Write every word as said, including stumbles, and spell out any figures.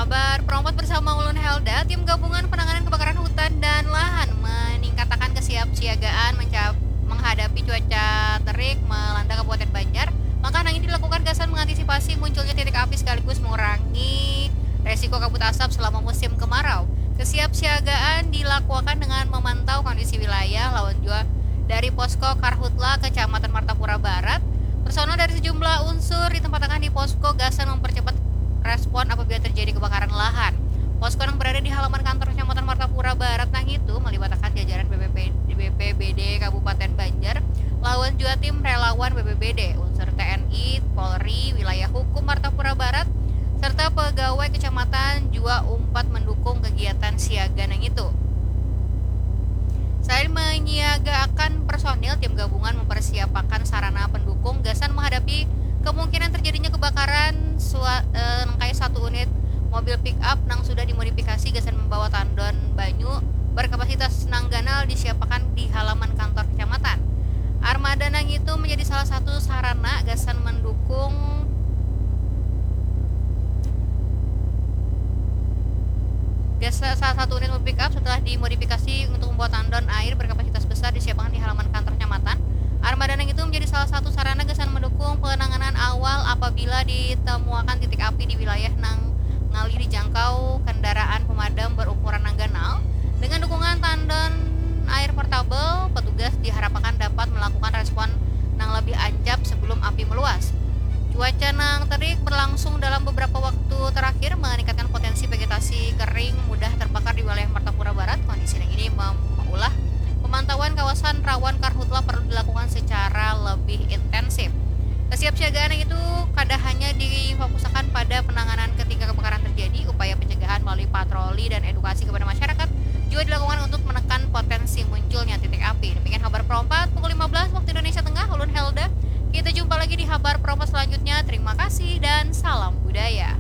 Habar Perompat bersama ulun Helda, tim gabungan penanganan kebakaran hutan dan lahan meningkatakan kesiapsiagaan menghadapi cuaca terik melanda Kabupaten Banjar. Langkah nang ini dilakukan gasan mengantisipasi munculnya titik api sekaligus mengurangi resiko kabut asap selama musim kemarau. Kesiapsiagaan dilakukan dengan memantau kondisi wilayah lawan jua dari posko Karhutla Kecamatan Martapura Barat. Personel dari sejumlah unsur ditempatkan di posko gasan mempercepat respon apabila terjadi kebakaran lahan. Posko yang berada di halaman kantor Kecamatan Martapura Barat nang itu melibatakan jajaran B P P, B P B D Kabupaten Banjar lawan jua tim relawan B P B D, unsur T N I, Polri, wilayah hukum Martapura Barat, serta pegawai kecamatan jua umpat mendukung kegiatan siaga nang itu. Selain menyiagaakan personil, tim gabungan mempersiapakan sarana pendukung gasan menghadapi kemungkinan terjadinya kebakaran sua, eh, nangkaya satu unit mobil pick up nang sudah dimodifikasi gasan membawa tandon banyu berkapasitas nang ganal disiapakan di halaman kantor kecamatan. Armada nang itu menjadi salah satu sarana gasan mendukung Gasa salah satu unit mobil pick up setelah dimodifikasi untuk membawa tandon air berkapasitas besar disiapakan di halaman kantor kecamatan. Armada nang itu menjadi salah satu sarana gasan mendukung penanganan awal apabila ditemuakan titik api di wilayah nang ngalih dijangkau kendaraan pemadam berukuran nang ganal. Dengan dukungan tandon air portabel, petugas diharapakan dapat melakukan respon nang lebih ancap sebelum api meluas. Cuaca nang terik berlangsung dalam beberapa waktu terakhir meningkatkan potensi vegetasi kering mudah terbakar di wilayah Martapura Barat. Kondisi nang ini mem- meulah pemantauan kawasan rawan karhutla perlu dilakukan secara lebih intensif. Kesiapsiagaan itu kada hanya difokusakan pada penanganan ketika kebakaran terjadi, upaya pencegahan melalui patroli dan edukasi kepada masyarakat juga dilakukan untuk menekan potensi munculnya titik api. Demikian Habar Perompat pukul lima belas waktu Indonesia Tengah, ulun Helda. Kita jumpa lagi di Habar Perompat selanjutnya. Terima kasih dan salam budaya.